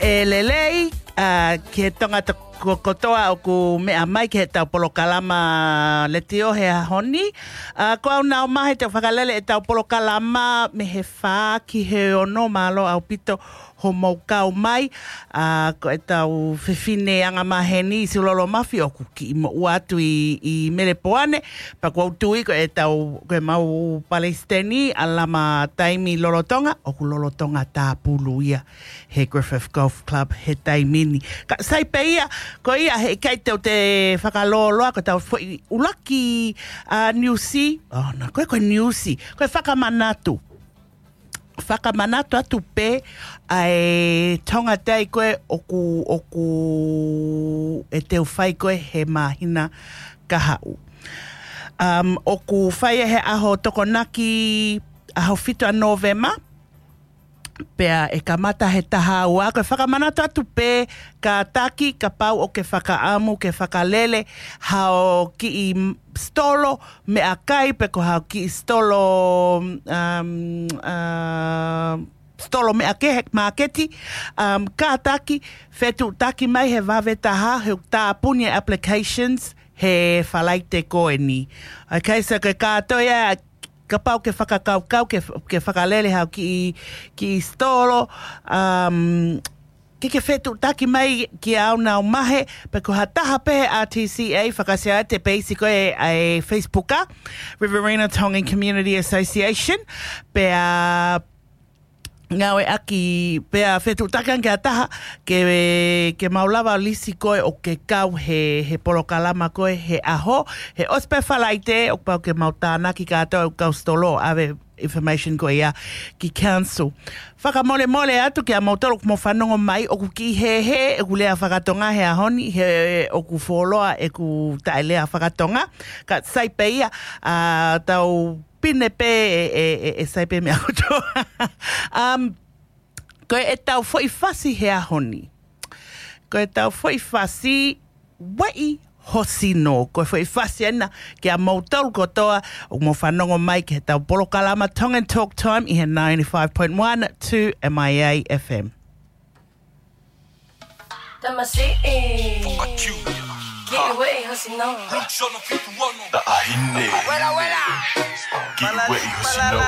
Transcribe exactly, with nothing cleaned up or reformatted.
ʻE lelei, ā, ki he Tonga to-, ko-, kotoa ʻoku meʻa mai ki heʻetau polokalama letiō he ʻaho ni. Ā, ko au Nau Mahe te u fakalele ʻetau polokalama mei he fā ki he ono, mālō ʻaupito hoʻomou kau mai. Ā, ko ʻetau fefine angamaheni Siulolo Mafi ʻoku kiʻi moʻua atu ʻi, ʻi Melepoane, pea ʻoku ou tui ko ʻetau, ko ʻemau palesiteni ʻa Lama Taimi Lolotonga, ʻoku lolotonga tāpulu ia he Griffith Golf Club he taimi ni. Ka sai pē ia, ko ia heʻikai te u toe fakalōloa, ko ʻetau foʻi ʻuluaki, ā, niusi, ʻo, nā, ko e, ko e niusi, ko e fakamanatu. Fakamanatu atu pē ʻa e Tonga Day ko ē ʻoku, ʻoku ʻe teu fai ko ē he māhina kahaʻu. Um, ʻoku fai ʻe he ʻaho Tokonaki, ʻaho fitu ʻa Nōvema, pea ʻe kamata he taha ua. Ko e fakamanatu atu pē, kātaki, kapau ʻoku ke fakaʻamu ke fakalele hao kiʻi m-, sitolo meʻakai, pe ko hao kiʻi sitolo, um, uh, sitolo meʻakehe, māketi, um, kātaki, fetuʻutaki mai he vave taha, he ʻoku tāpuni e applications he Falaite ko eni. Okay, so ke kātoa ia, kapau ke fakakaukau ke, ke fakalele hao kiʻi, kiʻi sitolo, um, ke ke fetuʻutaki mai kia au Nau Mahe, pe ko ha taha pē he R T C A, fakaʻasi atu e peisi ko ē ʻa e Facebook ʻa Riverina Tongan Community Association, pea ngāueʻaki, pea fetuʻutaki ange ki ha taha ke, ke mau lava lisi koe ʻo ke kau he, he polokalama ko ē he ʻaho, he ʻosi pē Falaite, ʻoku pau ke mau tānaki kātoa ʻo kau sitolo ʻave information ko ia ki council. Fakamolemole atu kia moutolu ʻoku mou fanongo mai, ʻoku kiʻi hēhē ʻeku lea fakatonga he ʻaho ni, he ʻoku fuoloa ʻeku taʻelea fakatonga, ka sai pē ia, ā, tau pine pē ʻe, ʻe, ʻe, ʻe sai pē meʻa kotoa. Um, ko ʻetau foʻi fasi he ʻaho ni. Ko ʻetau foʻi fasi, Ueʻi ho sino. Ko e foʻi fasi ena kia moutolu kotoa ʻoku mou fanongo mai ki heʻetau polokalama Tongan Talk Time ʻi he ninety-five point one two M I A F M. Tamasiʻi. Kiʻi ueʻi ho sino. Taʻahine. Kiʻi ueʻi ho sino.